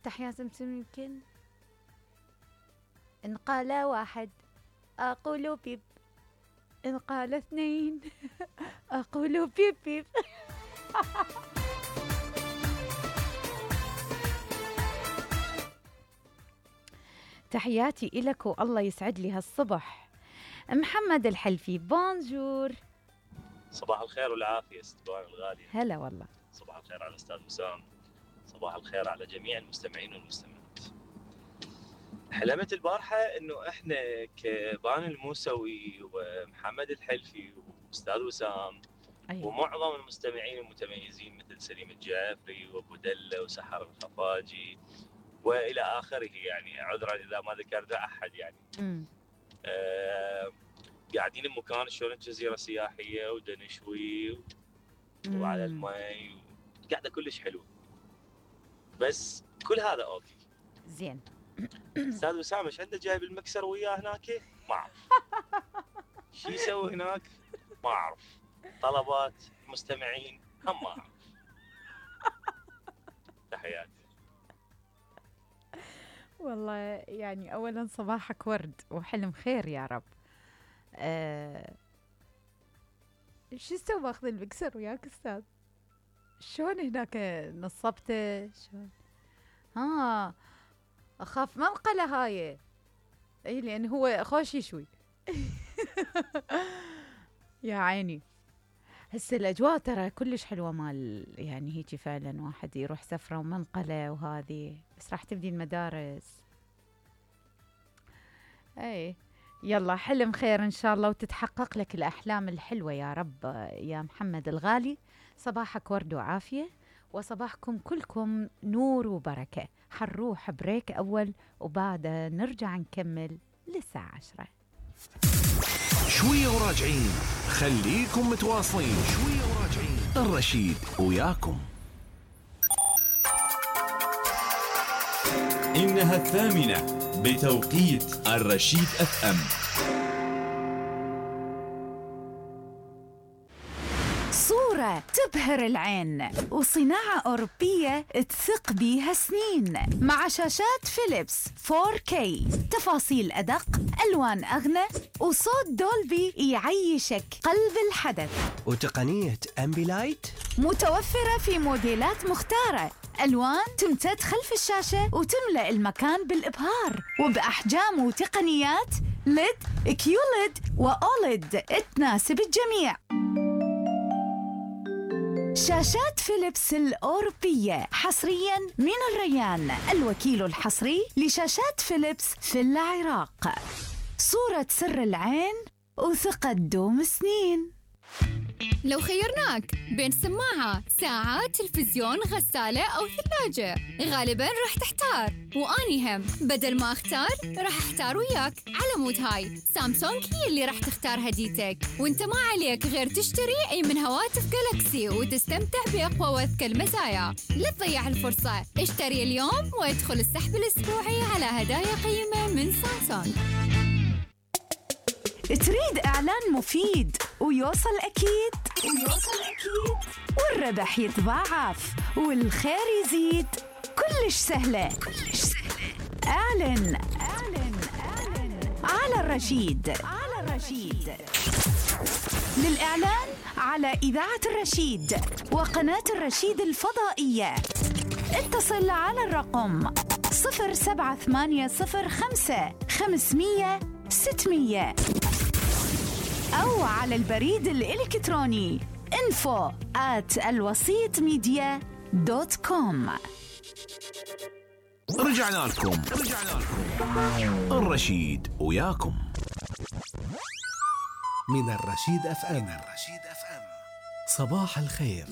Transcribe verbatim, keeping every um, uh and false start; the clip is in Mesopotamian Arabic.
افتح يا سمسم يمكن. إن قال واحد أقول بيب، إن قال اثنين أقول بيب بيب. تحياتي إلك والله يسعد لي هالصبح. محمد الحلفي بونجور. صباح الخير والعافية استبان الغالية. هلا والله. صباح الخير على أستاذ وسام. صباح الخير على جميع المستمعين والمستمعات. حلمت البارحة إنه إحنا كبان الموسوي ومحمد الحلفي وأستاذ وسام أيوة. ومعظم المستمعين المتميزين مثل سليم الجعفري وأبو دلة وسحر الخفاجي وإلى آخره، يعني عذرا إذا ما ذكرت أحد يعني. آه قاعدين بمكان شلون جزيرة سياحية ودنشوي و... وعلى المي، قاعدة كلش حلوة. بس كل هذا أوكي زين. أستاذ وسام ايش عنده جايب المكسر وياه هناك؟ ما أعرف. شو يسوي هناك؟ ما أعرف. طلبات مستمعين هم ما أعرف. تحياتي. والله يعني أولا صباحك ورد وحلم خير يا رب. أه... شو سوى ماخذ المكسر وياك أستاذ؟ شلون هناك نصبته؟ شلون؟ ها أخاف منقلة هاي. أي لأن هو خوش يشوي. يا عيني. هسه الأجواء ترى كلش حلوة مال يعني هيجي فعلا واحد يروح سفرة ومنقلة وهذه، بس راح تبدي المدارس. أي يلا حلم خير إن شاء الله وتتحقق لك الأحلام الحلوة يا رب يا محمد الغالي. صباحك ورد وعافية وصباحكم كلكم نور وبركة. حنروح بريك أول وبعد نرجع نكمل للساعة عشرة. شوية وراجعين، خليكم متواصلين. شوية وراجعين، الرشيد وياكم. إنها الثامنة بتوقيت الرشيد اف ام. صورة تبهر العين وصناعة أوروبية تثق بيها سنين، مع شاشات فيليبس فور كي، تفاصيل أدق، ألوان أغنى، وصوت دولبي يعيشك قلب الحدث، وتقنية أمبيلايت متوفرة في موديلات مختارة، ألوان تمتد خلف الشاشة وتملأ المكان بالإبهار، وبأحجام وتقنيات ليد، كيوليد، وأوليد تناسب الجميع. شاشات فيليبس الأوروبية حصرياً من الريان، الوكيل الحصري لشاشات فيليبس في العراق. صورة سر العين وثقة دوم سنين. لو خيرناك بين سماعة، ساعة، تلفزيون، غسالة أو ثلاجة، غالباً راح تحتار، وأني هم بدل ما أختار راح أحتار وياك. على مود هاي سامسونج هي اللي راح تختار هديتك، وانت ما عليك غير تشتري أي من هواتف جالاكسي وتستمتع بأقوى وأذكى المزايا. لا تضيع الفرصة، اشتري اليوم وادخل السحب الأسبوعي على هدايا قيمة من سامسونج. تريد إعلان مفيد ويوصل أكيد ويوصل أكيد والربح يتضاعف والخير يزيد؟ كلش سهلة كلش سهلة. أعلن أعلن أعلن على الرشيد على الرشيد. للإعلان على إذاعة الرشيد وقناة الرشيد الفضائية اتصل على الرقم صفر سبعة ثمانية صفر خمسة خمسمية ستمية أو على البريد الإلكتروني info at الوسيط ميديا دوت كوم. رجعنا لكم رجعنا لكم الرشيد وياكم من الرشيد اف ام. الرشيد اف ام، صباح الخير.